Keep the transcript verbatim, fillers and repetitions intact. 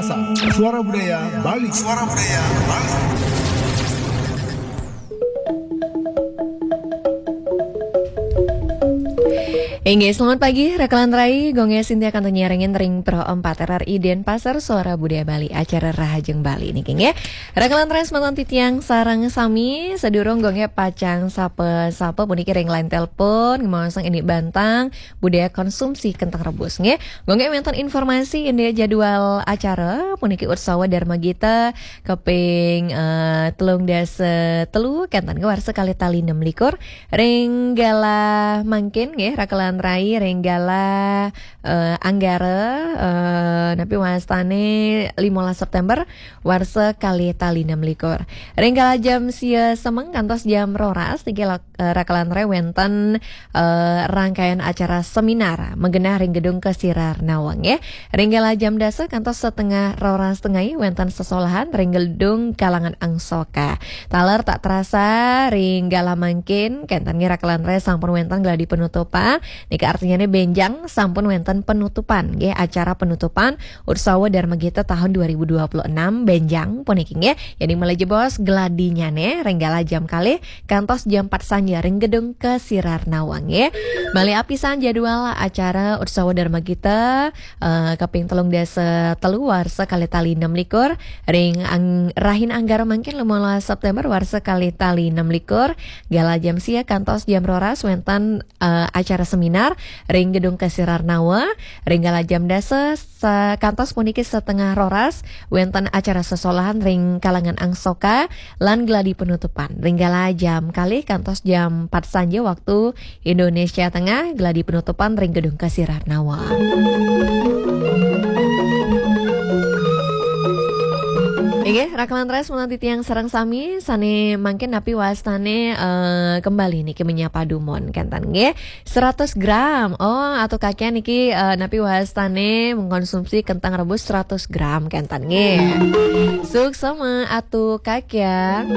Suara Budaya Bali. Suara Budaya Bali. Inggih, selamat pagi, Rakalan Rai. Gong Sintia kantun nyarengin ring Pro empat R R I Denpasar, Suara Budaya Bali, acara Rahajeng Bali niki, nggih. Rakalan Rai, semanten titiang sareng sami, sadurung Gong pacang sapa-sapa puniki ring line telepon, ngemaosang indik bantang budaya konsumsi kentang rebus, nggih. Gong wenten informasi indik jadwal acara puniki Utsawa Dharma Gita kaping, eh, telung dasa telu, kenten nggih, warsa kalih tali enam likur. Ring galah mangkin nggih, Rakalan Rai, ring galah, eh, Anggara, eh, napi wastane limolas September, warsa kalih tali enam likur. Ring galah jam sia semeng kantos jam roras, niki lak-, eh, Rakalan Rai, wenten, eh, rangkaian acara seminar magenah ring Gedung Kesirar Nawang, nggih. Ring galah jam dasa kantos setengah roras tengai wenten sesolahan ring Gedung Kalangan Angsoka. Taler tak terasa ring galah mangkin, kenten nggih, Rakalan Rai, sampun wenten gladi penutupan. Nika artinyane benjang sampun wenten penutupan, nggih, acara penutupan Utsawa Dharma Gita tahun dua ribu dua puluh enam benjang puniki, nggih. Jadi malih jebos gladinyane ring galah jam kalih kantos jam empat sanja ring Gedung Kesirar Nawang, nggih. Malih apisan jadwal acara Utsawa Dharma Gita, eh, kaping telung dasa telu warsa kalih tali enam likur, ring ang-, Rahin Anggara mangkin limolas September warsa kalih tali enam likur, galah jam sia kantos jam roras wenten, eh, acara seminar ring Gedung Kesirar Nawa, ring galah jam dasa sa-, kantos puniki setengah roras wenten acara sesolahan ring Kalangan Angsoka, lan gladi penutupan ring galah jam kalih kantos jam empat sanja waktu Indonesia Tengah, gladi penutupan ring Gedung Kesirar Nawa. Inggih, Rakalan Rai, semanten titiang sareng sami, sane mangkin napi wastane, eh, kembali niki menyapa dumun, kenten nggih. Seratus gram. Oh, Atu Kakian niki, eh, napi wastane mengkonsumsi kentang rebus seratus gram, kenten nggih. Suksma Atu Kakian.